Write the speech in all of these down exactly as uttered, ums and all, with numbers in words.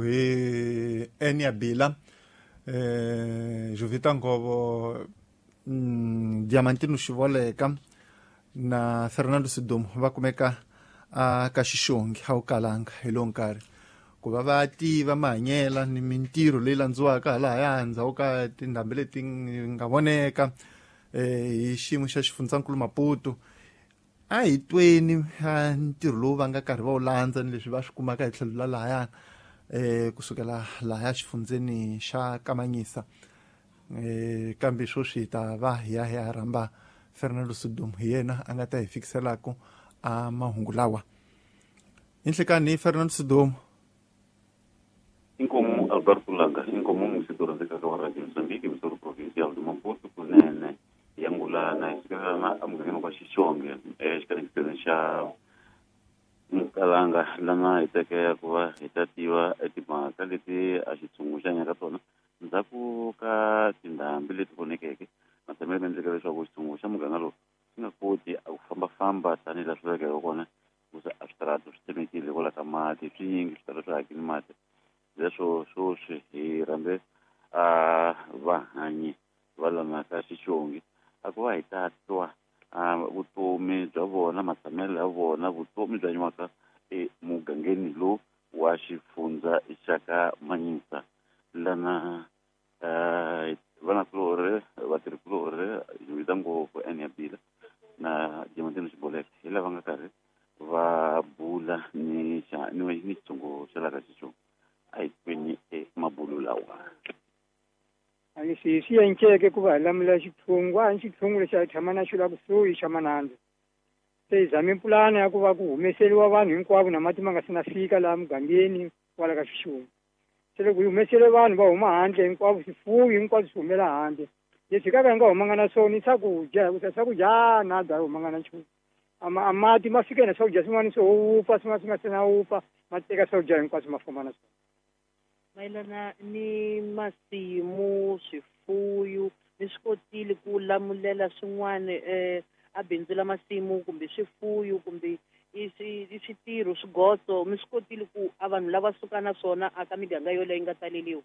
Hi Enia Bila, eh Jovita Ngovo, mm, Diamantino Xivoleka na Fernando Sidumo va kumeka a ka Xixongi a wu kalanga hi lowu nkarhi ku va va tiva mahanyela ni mintirho leyi landziwaka halahaya ndzhaku ka tindhambi leti nga voneka eh hi xiyimo xa xifundzankulu Maputo. A hi tweni ntirho lowu va nga karhi va wu landza ni leswi va swi kumaka hi tlhelo la lahayana eh kusukela lahaya xifundzeni xa Kamanyisa. Eh kambe sweswi hi ta va hi ya hi ya rhamba Fernando Sidumo, hi yena a nga ta hi fikiselaka a mahungu lawa. Inhlekani Fernando Sidumo. Inkomu Alberto Langa, inkomu musito rhandzekaka wa Radio Mozambique, misoro provincial de Maputo kunene yangulana hi sukela emugangeni wa Xixonge exikanekiseni xa Mukalanga lana hi tekea ku va hi ta tiva timhaka leti a xitshungu xi hanyaka tona ndzhaku ka tindhambi leti vonekeke matshamelo ma endleke leswaku xitshungu xa muganga lowu xi nga koti a ku fambafamba tanihi laha swi lavekeke kona hikuva a switarata swi tsemekile hikwalaho ka mati swinyingi switarata swi hakile mati. Leswo sweswi hi rhambe a vahanyi va lana ka Xixongi a ku va hi ta twa vutomi bya vona, matshamelo ya vona, vutomi bya nyiwaka emugangeni lowu wa xifundza xa ka Manyisa. Lana vanakulorhi, vatirhikulorhi, Jovita Ngopfu, Enia Bila na Diamantino Xiboleka hi lava nga karhi va bula ni xa ni ni xitshungu xa laha ka Xixongi. A hi tweni emabulu lawa. A ni swi swi enceke ku va hi lamula xitshungu, a ni xitshungu lexi a hi tshama na xo la kusuhi xa Manandzu. Se hi zame pulani ya ku va ku humeseriwa vanhu hinkwavo na mati ma nga se na fika laha mugangeni kwala ka Xixongi. Se loko hi humesele vanhu va huma handle hinkwavo, swifuwo hinkwaswo swi humela handle. Leswi hi ka hi nga humanga na swona i swakudya, hikuva swakudya na da hi humanga na nchumu. A ma a mati ma fike na swakudya swin'wana swo wupfa, swin'wana swi nga se na wupfa, ma teka swakudya hinkwaswo ma famba na swona. Mayelana ni masimu, swifuyo, mi swi kotile ku lamulela swin'wana eh a bindzu la masimu kumbe swifuyo kumbe i swi i switirho swigotso, mi swi kotile ku a vanhu lava suka na swona a ka miganga yoleyo yi nga taleliwa?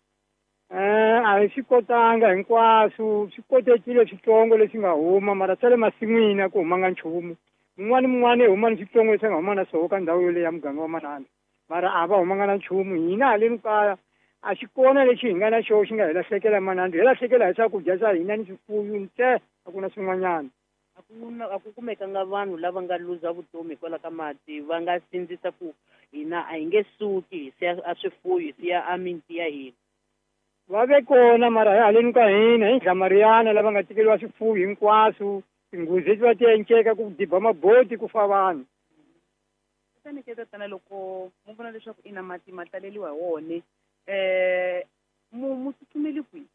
Eh a hi swi kotanga hinkwaswo, swi kotekile switsongo leswi nga huma, mara swa le masin'wini a ku humanga nchumu. Mun'wana mun'wana i huma ni switsongo leswi a nga huma na swona ka ndhawu yoleyo ya muganga wa Manandzu, mara a va humanga na nchumu. Hina haleni kaya a xi kona lexi hi nga na xona xi nga hi lahlekela Manandzu, hi lahlekela hi swakudya swa hina ni swifuyo ntsena, a ku na swin'wanyana. A ku na a ku kumekanga vanhu lava nga luza vutomi hikwalaho ka mati, va nga sindzisa ku hina a hi nge suki hi siya a swifuyo, hi siya a miti ya hina. Va ve kona mara hi haleni ka hina hi Ndlamariyana lava nga tekeriwa swifuwo hinkwaswo, tinghozi leti va ti enceka ku diba maboti ku fa vanhu. Kutani ke tatana loko mu vona leswaku ina mati ma taleliwa hi wona, eh mu mu tsutsumeli kwihi?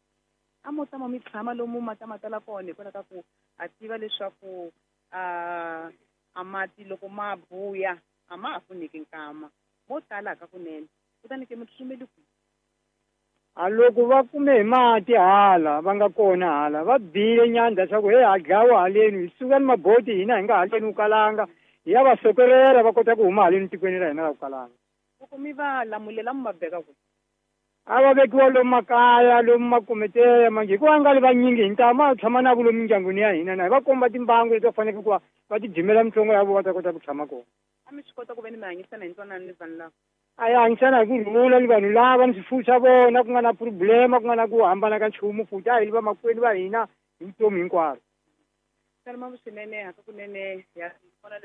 A mo tama mi tshama lomu mati ma tala kona hikwalaho ka ku a tiva leswaku a a mati loko ma buya a ma ha pfuneki nkama, mo tala ka kunene. Kutani ke mi tsutsumeli kwihi? A loko va kume hi mati hala va nga kona hala va bile nyandza swa ku hey ha dlawa haleni, hi suka ni maboti hina hi nga haleni ku kalanga, hi ya va sokerela va kota ku huma haleni tikweni ra hina ra ku kalanga. Loko mi va lamulela mi va beka kwihi? A va vekiwa lomu makaya, lomu makometeya manjhe, hikuva nga ri vanyingi hi ntamu a tshama na vo lomu mindyangwini ya hina, na hi va komba timbangu leti va faneleke ku va va ti dimela mitsongo ya vona va ta kota ku tshama kona. A mi swi kota ku ve ni mi hanyisana hi ntwanano ni vanhu lava? A hi hanyisana hi ku rhula ni vanhu lava ni swifuwo swa vona, ku nga na problema, ku nga na ku hambana ka nchumu, futhi a hi li vamakwenu va hina hi vutomi hinkwaro. Salma swinene hakakunene ya vona leswaku